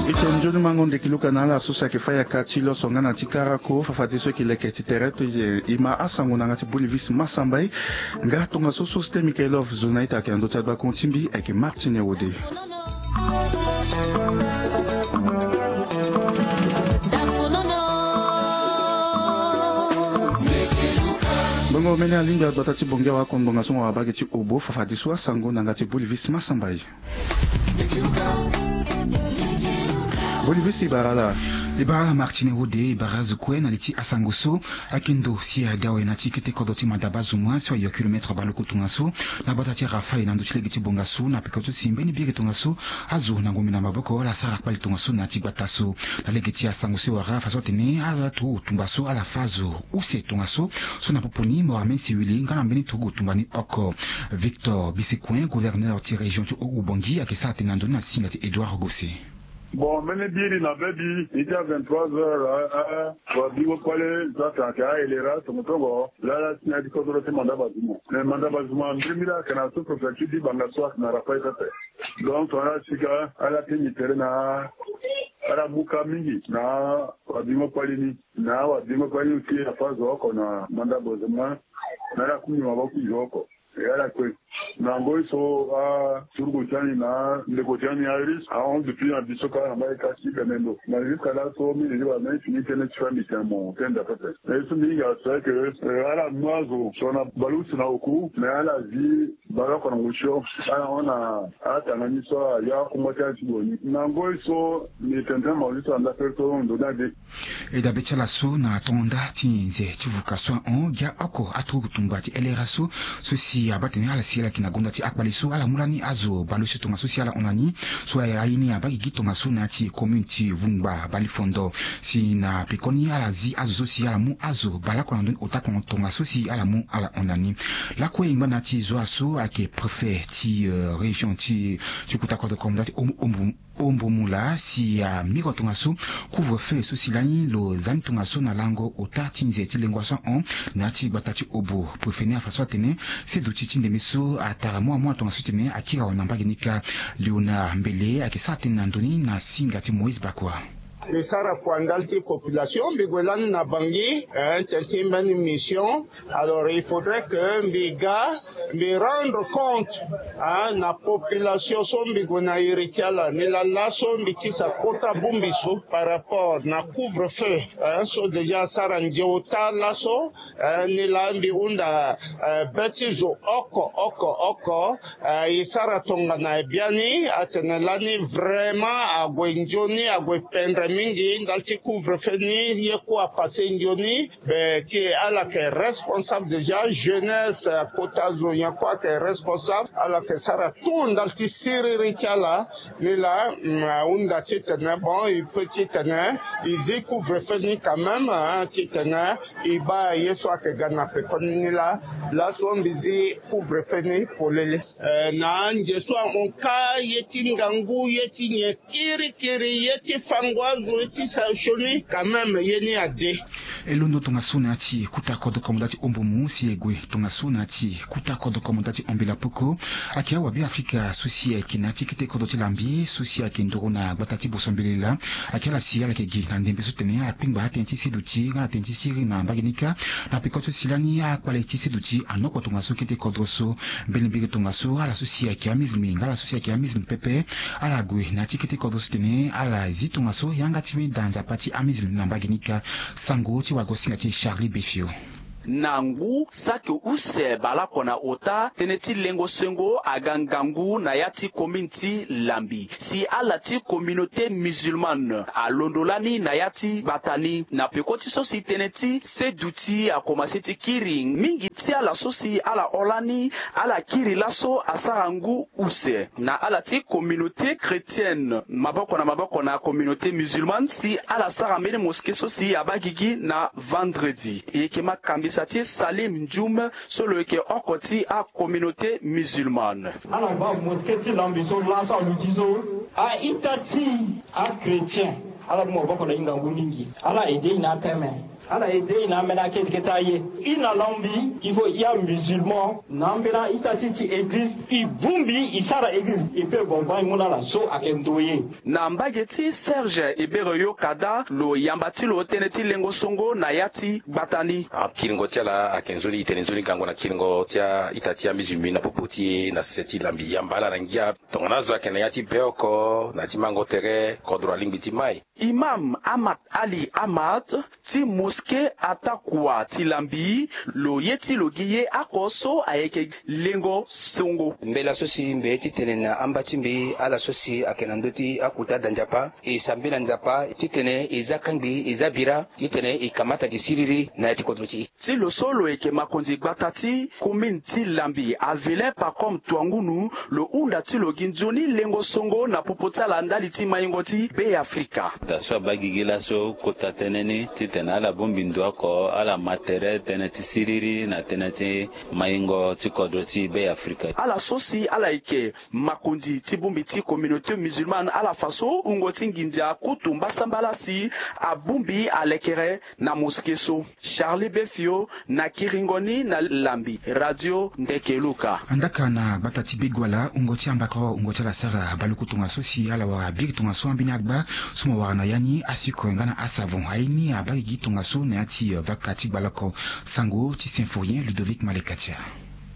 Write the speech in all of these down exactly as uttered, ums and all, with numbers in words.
Ite nzoni mango ndeki luka na ala so si ayeke fa yaka ti loso nga na ti karako fafadeso eke leke ti tere to ye e ma asango na yanga ti bolivis masamba e. Nga tongaso so si te mikaelov zo na ita ayeke na ndö ti adua kongo ti mbi ayeke martine wode. Bongo mene alingbi agbata ti bongia wa kongbonga so mo wabage ti obo fafadeso asango na yanga ti bolivis masamba e. Bolivis e bara ala. E bara ala martine wode e bara azo kue na li ti asango so. Akendo si adawe na ti kete kodro ti madaba zuma so ayo kilometre baleoko tongaso na gbata ti rafael na ndö ti lege ti bonga so na peko ti si mbeni biri tongaso. Azo na ngombe na maboko ala sara kpali tongaso na ya ti gbata so. Na lege ti asango so e wara afa so atene ala turu tumba so ala fa azo use tongaso. So na popo ni mohamed siwili nga na mbeni turugu tumba ni oko. Victor bisekuen gouverneur ti région ti haut-ubangi ayeke sara tene na ndoni na singa ti edouard gosset. Bon mbeni biri na bebi ita vingt-trois heures. Wabingo kpale so atene ayeke aelera tongotongo lala si na ya ti kodro ti manda bazuma. Mais manda bazuma mbirimbiri ayeke na sous-préfecture ti banga so ayeke na rafael pepe. Donc ala sika ala ti nyi tere na ala mu ka mingi na wabingo kpale ni. Na wabingo kpale ni aussi afa zo oko na manda bazuma. Na ala kumi maboko zo oko. E ala kue na ngoi so aturugu ti ani na ndeko ti ani aris ahon depuis na biso kala na mbai ka ti bemendo na jusqu'à laso mbi lili wala mbi fini tënë ti fa mbi tene mo tenda pepe. Na ye so mbi hinga c'est que ala mu azo so na baleuse na oku mais ala zi baleoko na ngosio. Ala hon na atanga ni so ayo akungba ti ala ti gue ni na ngoi so mbi tene tënë mo zi so anda pere so ndo ni ade. E dabe ti ala so na tongo nda ti nze ti vuka so ahon gi aoko aturugu tumba ti elera so. So si abaa tene ala si ala yeke na gonda ti akpale so ala mu lani azo baleuse tongaso si ala hon na ni. So aye ni abaa gigi tongaso na ya ti commune ti vungba balifondo. Si na pekoni ala zi azo so si ala mu azo baleoko na ndoni ota kongo tongaso si ala mu ala hon na ni. Lakue e ngba na ya ti zoa so ayeke préfet ti région ti ti kuta kodro komanda ti ombu ombu ombu mula si amiko tongaso. Couvre feu so si lani lo za ni tongaso na lango ota ti nze ti lengo so ahon na ya ti gbata ti obo préfet ni afa so atene seduti ti ndembe so atara mua mua tongaso titene akiri awe na mbage ni kâ. Léonard mbele ayeke sara tënë na ndö ni na singa ti moïse bakua. Mbi sara kua ndali ti population mbi gue lani na bangi tene ti mbeni mission. Alors il faudrait que mbi ga mbi rendre compte na population so mbi gue na iri ti ala ni laa laso mbi tisa kota bongbi so par rapport na couvre feu so déjà asara nze ota laso. Ni laa mbi hunda be ti zo oko oko oko. E sara tongana e biani atene lani vraiment ague nzoni ague pendre mingi ndali ti couvre feu ni ye kue apasse nzoni. Be ti ala yeke responsable déjà jeunesse kota zo nyen kue ayeke responsable ala yeke sara tout ndali ti siriri ti ala. Ni laa ahunda titene bon e peut titene e zi couvre feu ni quand même titene e baa ye so ayeke ga na pekoni ni laa. Laso mbi zi couvre feu ni polele. Na anze so ahon kâ ye ti ngangu ye ti nyen kirikiri ye ti fango azo ye ti sara sioni quand même ye ni ade. E londo tongaso na ya ti kuta kodro komanda ti ombo mu si e gue tongaso na ya ti kuta kodro komanda ti ombela poko. Ayeke awabe afrika so si ayeke na ya ti kete kodro ti lambi so si ayeke ndoro na gbata ti boso mbele laa. Ayeke ala si ala yeke gi na ndembe so tene akpengba atënë ti seduti nga na tënë ti siriri na mbage ni kâ. Na peko ti so si lani akpale ti seduti anoko tongaso kete kodro so. Mbeni mbiri tongaso ala so si ayeke amizilimi nga ala so si ayeke amizilimi pepe. Ala gue na ya ti kete kodro so tene ala zi tongaso yanga ti mbi daa nzapa ti amizilimi na mbage ni kâ. Sango ti wagosinga ti charlie befio. Na ngu saki use baleoko na ota tënë ti lengo sengo aga ngangu na ya ti komine ti lambi si ala ti communauté musulmane alondo lani na ya ti gbata ni na peko ti so si tënë ti seduti akomanse ti kiri mingi ti ala so si ala hon lani. Ala kiri laso asara ngu use na ala ti communauté chrétienne maboko na maboko na communauté musulmane si ala sara mbeni moske so si abaa gigi na vendredi. E yeke makambisa ti salim ndiume so lo yeke oko ti acommunauté musulmane. Ala baa moske ti lambi so laso aluti so a-ita ti achrétien ala mu maboko na hingangu mingi. Ala aide e na ateme. Ala ede i na ambeni akete kete aye. I na lambi, il faut i amusulman na ambeni a-ita ti e ti église. I bongbi i sara église, i pe bongbi i mu na ala so ayeke ndoye. Na mbage ti Serge Ebere Yokada, lo yamba ti lo tënë ti lengo songo na ya ti gbata ni. Akiringo ti ala ayeke nzoni, i tene nzoni gango na kiringo ti a-ita ti amusulman na popo ti e na sese ti lambi. Yamba ala na ngia. Tongana azo ayeke na ya ti be oko na ya ti mango tere, kodro alingbi ti mai. Imam Ahmad Ali Ahmad ti mosquée Atakua ti lambi, lo ye ti lo gi ye oko so ayeke lengo songo. Mbela so si mbi ye ti tene na amba ti mbi, ala so si ayeke na ndö ti akota da Nzapa, e sambela Nzapa titene e za kangbi, e za bira, titene e kamata gi siriri na ya ti kodro ti e. Ti lo so lo yeke makonzi gbata ti commune ti lambi, Avelin Pacome Tuangunu, lo hunda ti lo gi nzoni lengo songo na popo ti ala ndali ti maingo ti Be Afrika. Da so abaa gigi laso kota tënë ni titene ala bongbi ndo oko, ala ma tere tënë ti siriri na tënë ti maingo ti kodro ti Be Afrika. Ala so si ala yeke makonzi ti bongbi ti communauté musulmane, ala fa so wungo ti nginza kutu mbasambala si abongbi alekere na mosquée so. Charlie Befio na kiringo ni na lambi, Radio Ndeke Luka. Andaka na gbata ti Begoala, wungo ti ambakoro, wungo ti ala sara baluku tongaso si ala wara biri tongaso ambeni agba so mo wara na ya ni, asucre nga na asavon. Aye ni abaa gigi tongaso na ya ti, eh, vaka ti gbaloko sango ti Symphorien Ludovic Malekatia.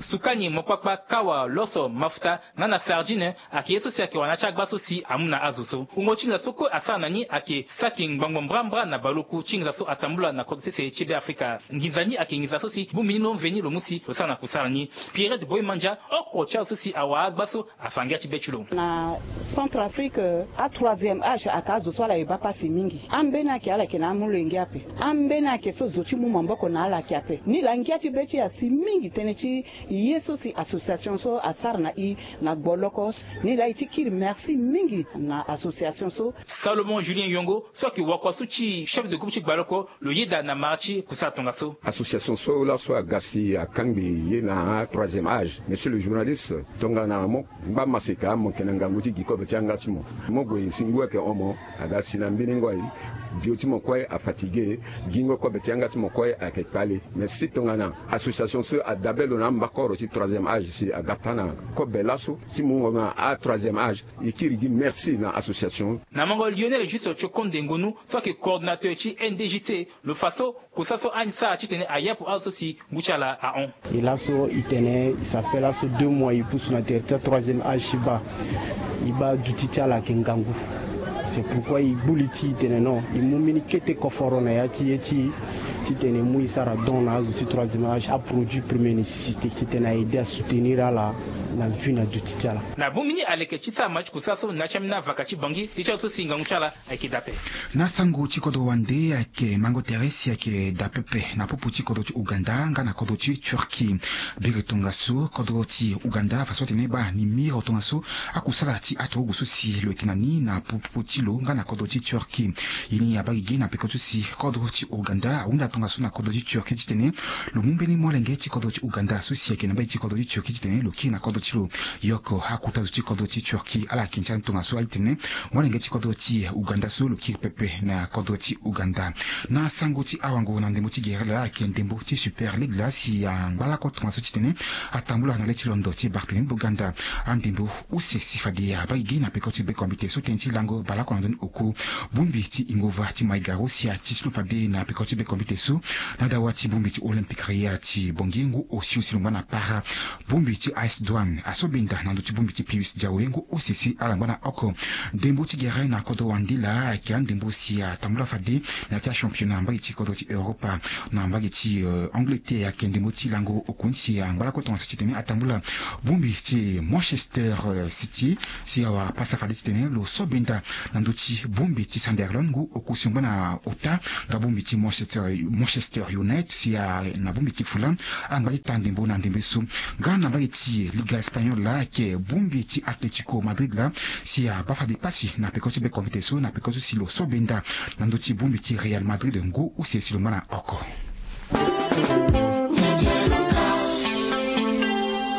Sukani, mokpakpa, kawa, loso, mafuta nga na sardine ayeke ye so si ayeke wara na ya ti agba so si amu na azo so. Wungo ti nginza so kue asara na ni ayeke saki ngbangbo mbrambra na baluku ti nginza so atambula na kodro sese ti Be Afrika. Nginza ni ayeke nginza so si bongbi ni lo mveni lo mu si lo sara na kusala ni. Pierrette Boy Mandia, oko ti azo so si awara agba so, afa ngia ti be ti lo. Na Centrafrique, a troisième âge ayeke azo so ala ye baa pasi mingi. Ambeni ayeke ala yeke na amolenge ape. Ambeni ayeke so zo ti mu maboko na ala ayeke ape. Nilaa ngia ti be ti e asi mingi tënë ti ye so si association so asara na e na gboloko. Nilaa e ti kiri merci mingi na association so. Salomon Julien Yongo, so ayeke wakua so ti chef de groupe ti gbaloko, lo yeda na mara ti kusala tongaso. Association so laso aga si akangbi ye na troisième âge. Monsieur le journaliste, tongana mo ngba maseka, mo yeke na ngangu ti gi kobe ti yanga ti mo. Mo gue si ngu ayeke hon mo, aga si na mbeni ngoi, bio ti mo kue afatigué, gingo kobe ti yanga ti mo kue ayeke kpale. Mais si tongana association so adabe lo na ambakoro ti troisième âge si aga taa na kobe laso ti mungo na a troisième âge, e kiri gi merci na association. Na mango Lionel Juste Tiokonde Ngonu, so ayeke coordonnateur ti N D J C, lo fa so kusala so ani sara titene a yapu azo so si ngu ti ala ahon. E laso e tene e sa fait laso deux mois e pusu na tere ti troisième âge ti baa. E baa duti ti ala ayeke ngangu. C'est pourquoi e gbu li ti e tene non, e mu mbeni kete koforo na ya ti ye ti e titene e mu e sara don na azo ti troisième âge, aproduit première nécessité, titene a aider a soutenir ala na vie na duti ti ala. Na bongbi ni aleke ti sara ma ti kusala so na ya ti ambeni avaka ti Bangui, ti ti azo so si ngangu ti ala ayeke daa ape. Na sango ti kodro wande ayeke mango tere si ayeke daa pepe na popo ti kodro ti Ouganda nga na kodro ti Turquie. Biri tongaso kodro ti Ouganda afa so atene baa ni miro tongaso akusala ti aturugu so si lo yeke na ni na popo ti lo nga na kodro ti Turquie. Ye ni abaa gigi na peko ti so si kodro ti Ouganda ahunda tongaso na kodro ti Turquie titene lo mu mbeni molenge ti kodro ti Ouganda so si ayeke na mbage ti kodro ti Turquie titene lo kiri na kodro ti lo. Yoko akota zo ti kodro ti Turquie ala yeke ndia tongaso atene molenge ti kodro ti Ouganda so lo kiri pepe na kodro ti Ouganda. Na sango ti awango na ndembo ti gere laa ayeke ndembo ti Super League laa si angba lakue tongaso titene atambula na le ti londo ti Barthélémy Boganda. Andembo use si fade abaa gigi na peko ti bekombite so tënë ti lango baleoko na ndoni oko. Bongbi ti Ingova ti Maigaro si ati si lo fade na peko ti bekombite so na dawa ti bongbi ti Olympique Royal ti Bangui ngu osio si lo ngba na para. Bongbi ti A S Douanes asobenda na ndö ti bongbi ti Pius Diaoé ngu use si ala ngba na oko. Ndembo ti gere na kodro wande laa ayeke andembo si atambula fade na ya ti achampionnat mbage ti kodro ti Europa. Na mbage ti, euh, Angleterre ayeke ndembo ti lango oko ni si angba lakue tongaso titene atambula bongbi ti Manchester, euh, City si awara pasa fade titene lo so benda na ndö ti bongbi ti Sunderland ngu oko si lo ngba na ota, nga bongbi ti Manchester, Manchester United si a na bongbi ti Fulham angba ti taa ndembo na ndembe so. Nga na mbage ti Liga Espagnol laa ayeke bongbi ti Atletico Madrid laa si abaa fade pasi na peko ti bekombite so na peko so si lo so benda na ndö ti bongbi ti Real Madrid ngu use si lo ngba na oko.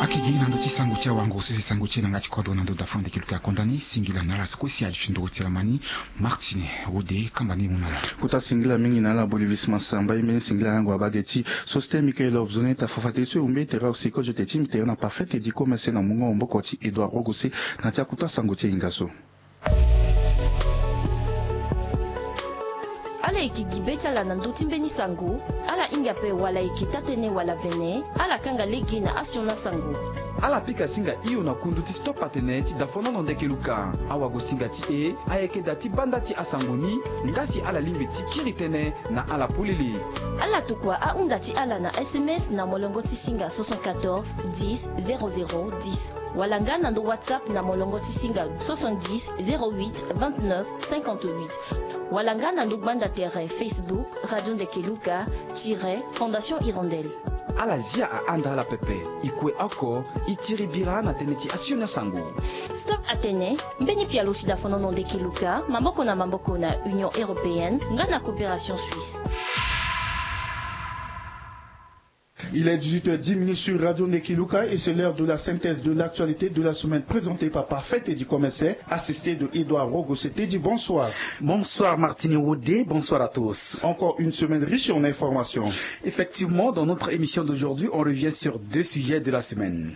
Ayeke Ye na ndo ti sango ti awango so si sango ti e na nga ti kodro na ndo dafon de kiluka kondani singila na ala so kue si aju ti ndoro ti ala mani. Martine wode kamba ni mu na ala. Kota singila mingi na ala bolivisma samba ye mbeni singila yango abage ti sosite mikael obzone ta fafate so e umbe tere osiko jote ti mbi tere na parfait edi komese na mungo maboko ti edouard rogose. Na ti akuta sango ti e inga so. Ala yeke gi be ti ala na ndö ti mbeni sango. Ala hinga ape wala yeke taa-tënë wala vene. Ala kanga lege na asioni asango. Ala pika singa hio na kundu ti stop atene ti dafonono ndeke luka. Awago singa ti e ayeke daa ti banda ti asango ni. Nga si ala lingbi ti kiri tënë na ala polele. Ala tokua ahunda ti ala na sms na molongo ti singa soixante-quatorze dix zéro zéro dix. Wala nga na ndo whatsapp na molongo ti singa soixante-dix zéro huit vingt-neuf cinquante-huit. Wala nga na ndo gbanda tere facebook radio ndeke luka tire fondation hirondelle. Ala zia ahanda ala pepe. E kue oko e tiri bira na tënë ti asioni asango. Stop atene mbeni pialo ti dafonono ndeke luka maboko na maboko na union européenne nga na coopération suisse. Il est dix-huit heures dix minutes sur Radio Nekiluka et c'est l'heure de la synthèse de l'actualité de la semaine présentée par Parfait et du Commissaire, assisté de Edouard Rogosete. Dit bonsoir. Bonsoir Martini Wodé, bonsoir à tous. Encore une semaine riche en informations. Effectivement, dans notre émission d'aujourd'hui, on revient sur deux sujets de la semaine.